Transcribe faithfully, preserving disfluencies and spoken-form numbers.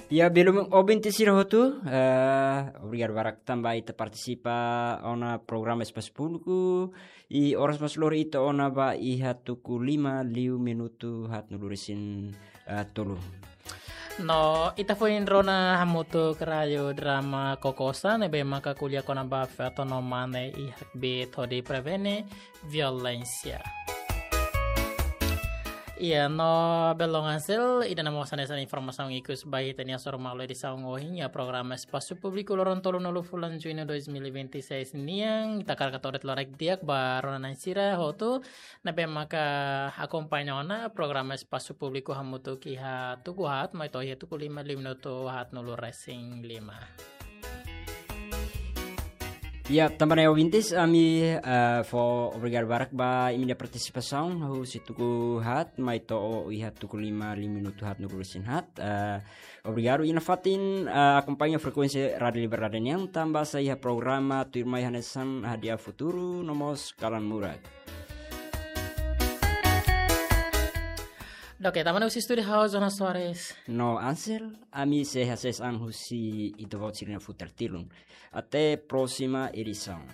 Ya, belun ouvinte sira hotu, eh, obrigadu barak tanba ita partisipa ona programa Espasu Públiku, i oras mós lori ita ona ba iha tuku lima liu minutu haatnulu resin, eh, tolu. No, ita foin rona hamutuk Rádio Drama Kokosa, ne'ebé maka ko'alia kona-ba feto no mane iha kbiit hodi prevene violénsia. Iya, no belun Ansel, ida-ne'e mós hanesan informasaun ikus ba ita-nia Hasoru Malu edisaun ohin iha programa Espasu Públiku loron tolunulu fulan Juñu dois mil e vinte e seis nian, ita hakarak hato'o de'it loraik di'ak ba rona-na'in sira hotu, ne'ebé maka akompaña ona programa Espasu Públiku hamutuk iha tuku haat, mai to'o iha tuku lima liu minutu haatnulu resin lima. Ya, tanba ne'e ouvintes, ami, eh, fó obrigadu barak ba imi-nia partisipasaun, husi tuku haat, mai to'o iha tuku lima liu minutu haatnulu resin haat. Eh, obrigadu, i nafatin, eh, akompaña frekuénsia Rádio Liberdade nian, tanba sai iha programa tuirmai hanesan Hadi'a Futuru, no mós Kalan Murak. Oke, tanba ne'e husi estúdiu ha'u Jonas Soares. No Ansel, ami sei hasees an husi ita-boot sira-nia futar tilun. Até próxima edição.